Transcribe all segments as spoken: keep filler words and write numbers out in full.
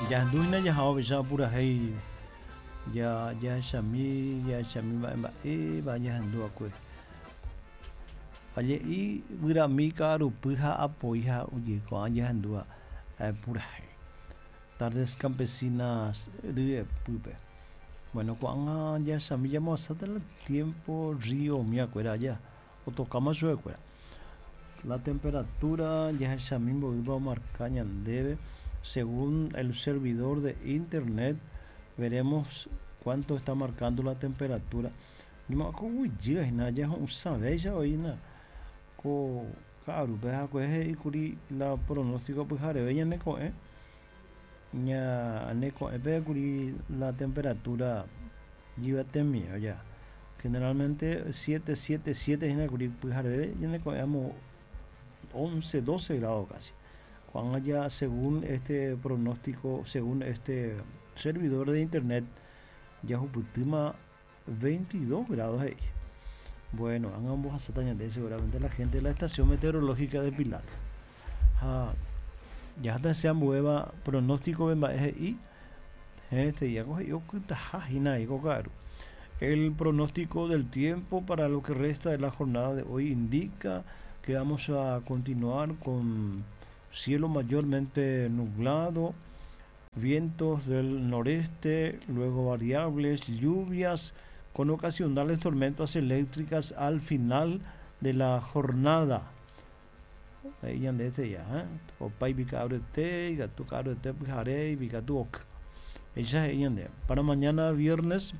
Jahendúhína jahávo péicha purahéi ja jahechami jahechami mba'e mba'épa jahendúva'ekue. Aje'i guyramí ka'arupy ha apoi ha ojeiko'ã jahendúva purahéi. Tardes Campesinas ryepýpe. Bueno, ko'ág̃a jahechami jamoasáta el tiempo río miakuéra aja otokáma chupekuéra. La temperatura jahechami mboýpa omarka ñandéve según el servidor de internet veremos cuánto está marcando la temperatura. Ñemo'ãkoguyjýhina jaho'ysãvéicha oĩna ko ka'arúpe hakuehe he'íkuri la pronóstico pyhareve ñaneko'ẽ ñaneko'ẽpe kuri la temperatura jyvatemi ya generalmente siete siete siete hína kuri pyhareve ñaneko'ẽ amo once doce grados casi. Ko'ág̃a ya según este pronóstico, según este servidor de internet jahupytýma veintidós grados he'i. Bueno, ág̃a ombohasáta ñande seguramente la gente de la estación meteorológica de Pilar. Ha jaháta hese ambuéva pronóstico mba'e he'i este día he'i okytaha hína ko ka'aru. El pronóstico del tiempo para lo que resta de la jornada de hoy indica que vamos a continuar con cielo mayormente nublado, vientos del noreste, luego variables, lluvias con ocasionales tormentas eléctricas al final de la jornada. Ahí ya este ya, ¿eh? Opa ika'arete, ikatu ka'arete pyhare, ikatu oky. Esa es Para mañana viernes,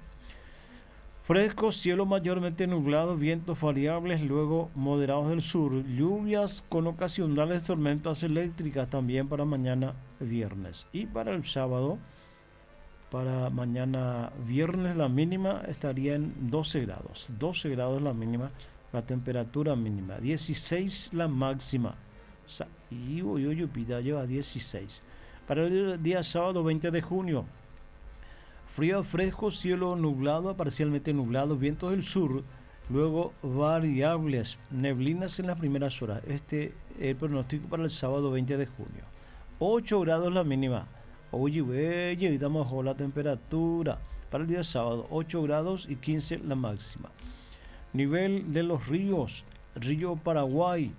fresco, cielo mayormente nublado, vientos variables, luego moderados del sur, lluvias con ocasionales tormentas eléctricas también para mañana viernes. Y para el sábado, para mañana viernes la mínima estaría en doce grados, doce grados la mínima, la temperatura mínima, dieciséis la máxima. Y hoy yo a dieciséis. Para el día sábado veinte de junio, frío fresco, cielo nublado, parcialmente nublado, vientos del sur, luego variables, neblinas en las primeras horas. Este es el pronóstico para el sábado veinte de junio. ocho grados la mínima. Oye, güey, bajó la temperatura. Para el día sábado, ocho grados y quince la máxima. Nivel de los ríos, Río Paraguay,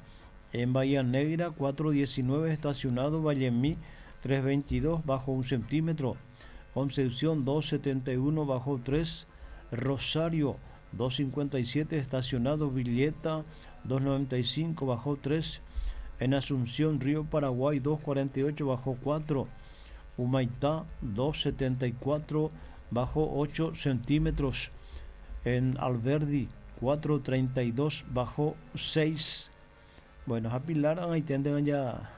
en Bahía Negra, cuatro diecinueve estacionado, Vallemí, tres veintidós, bajo un centímetro. Concepción dos setenta y uno bajo tres, Rosario dos cincuenta y siete estacionado, Villeta dos noventa y cinco bajo tres, en Asunción Río Paraguay dos cuarenta y ocho bajo cuatro, Humaitá dos setenta y cuatro bajo ocho centímetros, en Alberdi cuatro treinta y dos bajo seis. Bueno, a Pilar ahí tienden ya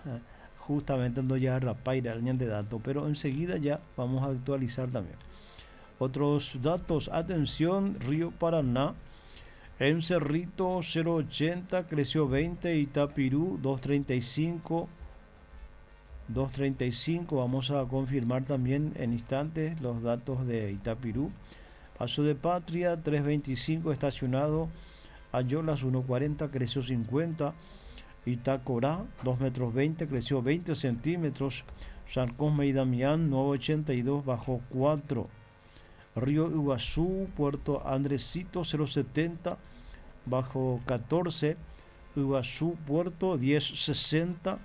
justamente no ya rapaira el de datos, pero enseguida ya vamos a actualizar también. Otros datos, atención, Río Paraná, en Cerrito cero ochenta, creció veinte, Itapirú dos treinta y cinco, dos treinta y cinco, vamos a confirmar también en instantes los datos de Itapirú. Paso de Patria tres veinticinco, estacionado, Ayolas uno cuarenta, creció cincuenta, Itacorá dos metros veinte, creció veinte centímetros, San Cosme y Damián nueve ochenta y dos, bajó cuatro, Río Iguazú, Puerto Andresito cero setenta, bajó catorce, Iguazú, Puerto diez sesenta,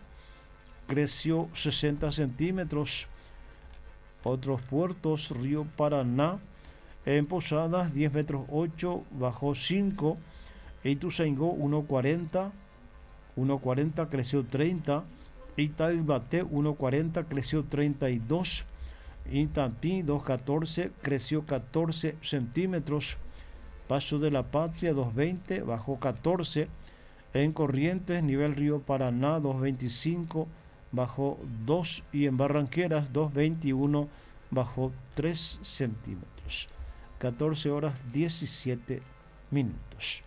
creció sesenta centímetros. Otros puertos, Río Paraná, en Posadas diez metros ocho, bajó cinco, Ituzaingó uno cuarenta, uno cuarenta, creció treinta, Itaibate uno cuarenta, creció treinta y dos, Itatí dos catorce, creció catorce centímetros, Paso de la Patria dos veinte, bajó catorce, en Corrientes, nivel Río Paraná dos veinticinco, bajó dos, y en Barranqueras dos veintiuno, bajó tres centímetros. catorce horas diecisiete minutos.